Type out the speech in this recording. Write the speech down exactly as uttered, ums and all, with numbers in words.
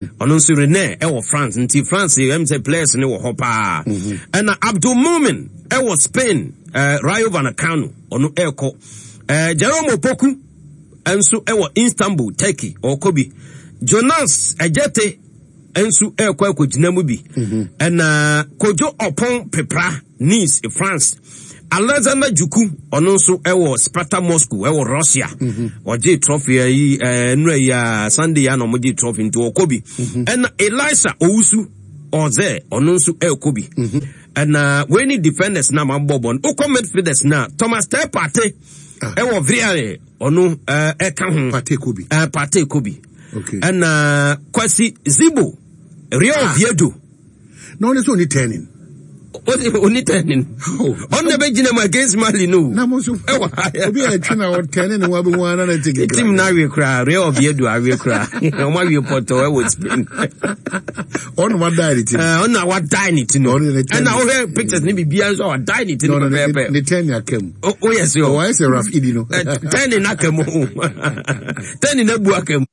Ɔno nso Rennes ɛwɔ France, nti France ɛm sɛ players ne wɔ hɔ paa. Ɛna Abdul Mumin ɛwɔ Spain, ɛɛ Rayo Vallecano, ɔno ɛrekɔ. ɛɛ Jerome Opoku nso ɛwɔ Istanbul, Turkey, ɔrekɔ bi. Jonas Ɛgyete nso ɛrekɔ akɔgyina mu bi. Ɛna Kojo Ɔpɔn Pepra, Nice, France. Alexander Juku, ɔno nso ɛwɔ Sparta Moscow ɛwɔ Russia. Ɔgye trophy yi ɛɛ nnura yi a Sunday a na ɔmo trophy, nti ɔkɔ bi. Ɛna Elisa Owusu ɔzɛ, ɔno nso ɛrekɔ bi. Ɛna wei ne defenders na ma bɔ bɔ no. Okɔ midfielders na Thomas Partey ɛwɔ Villarreal, ɔno ɛɛ ɛka ho. Partey kɔ bi. ɛɛ Partey kɔ bi. Okay. Ɛna Kwasi Zibo, Real Oviedo. Na ɔne sɛ ɔne turning. Oni turning. Ɔno na bɛgyina mu against Mali no. Na mo nso ɛwɔ ha. Obi a ɛtwe na ɔtɛne ne ho abɛhu ana na ɛte kekra. Team no awie koraa, Real Oviedo awie koraa, ɔmo awie pɔtɔ ɛwɔ Spain. Ɔno wadae ne ti. Ɛɛ, ɔno na wadae ne ti no. Ɔno ne turning. Ɛna wohwɛ pictures ne biribiara nso a, wadae ne ti no No, no, ne pɛpɛɛpɛ. Ne turning aka mu. O yɛ sɛ ɔwɔ ayɛ sɛ Raf Idi no. Turning aka mu, turning abu aka mu.